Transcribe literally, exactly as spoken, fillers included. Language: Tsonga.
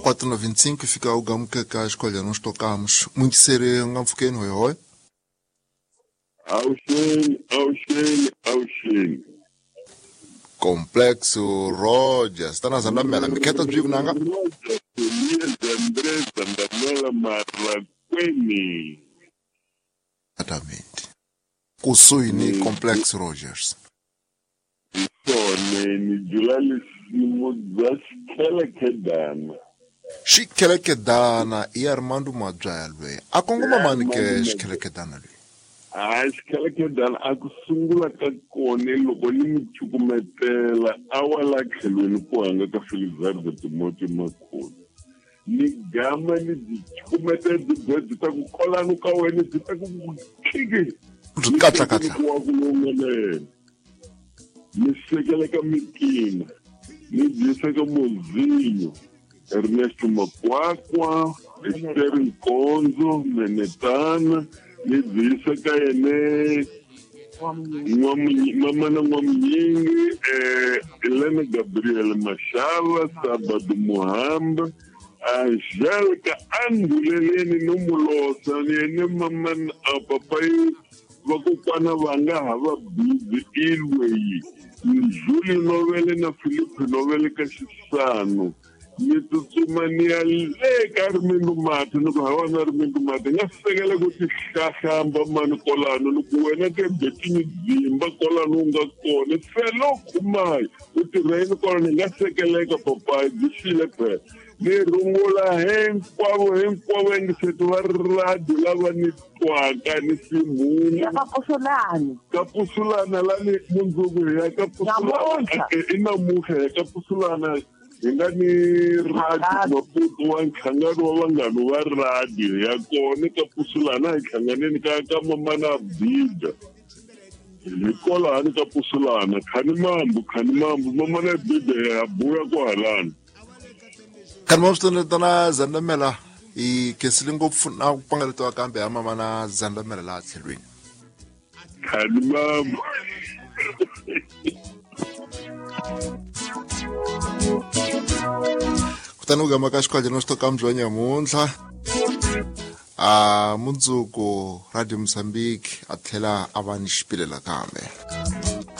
quatro noventa e cinco fica o gamo que cá escolha nós tocamos muito sério ngampfukeni hoi hoi. Auxeni, auxeni, auxeni. Complexo Rogers, tá na Zandamela, me quer tá nanga? Rogers, Elias André Zandamela Marraqueni. Exatamente. Kusuini Complexo Rogers. Sone ni Julali Simo Zaskelekedana. Xikelekedana i Armando Mabyalwe. A kongoma mani ke xikelekedana loyi? A xikelekedana a ku sungula ka kona loko ni mi cukumetela a wa la tlhelweni ku hanga ka Felizardo Timothy Makhulu. Ni gama ni byi cukumetela byi bya byi ta ku kolanu ka wena byi ta ku khiki. Byi katla katla. Ku wa ku longelela. Ni sekela ka Mikina, ni byisa ka Mozinho, Ernesto Makwakwa, Esther Nkonzo, Menetana, ni byisa ka yene Mamana N'wamunyingi, eh, Helena Gabriel Mashala, Sabado Muhamba, Angélica Anduleleni no Mulosa, ni yene mamana a papai vakokwana va nga ha va busy ilweyi. Julie Novele na Philippe Novele ka Xisano. Ni tsutsuma ni ya le ka Rimindu Mati, ni ku hawa na Rimindu Mati nga sekela ku ti hlahlamba mani kolano, ni ku wena ke betini dzimba kolano u nga kona felo khumayi u tirha yini kolano, ni nga sekeleka papayi byi xile phela. Ni rungula hinkwavo hinkwavo engiseti va radio lava ni twaka ni simhunu. Ya ka Pusulana. Ka Pusulana lani mundzuku hi ya ka Pusulana. I namuntlha hi ya ka Pusulana. Hi nga ni radio Maputo wa nhlangano wa vanghana va radio ya kona ka Pusulana hi hlanganeni ka ka Mamana Bida. Hi kwalani ka Pusulana khani mambu khani mambu Mamana Bida ya buya kwahalani. Khani mambu swi Zandamela hi khensile ngopfu na ku pfangaletiwa kambe ya Mamana Zandamela laha tlhelweni. Khani mambu. Kutani u gama ka xikhwaje no xitoka mbyo nyamuntlha a mundzuku Radio Mozambique a tlhela a va ni xipilela kambe.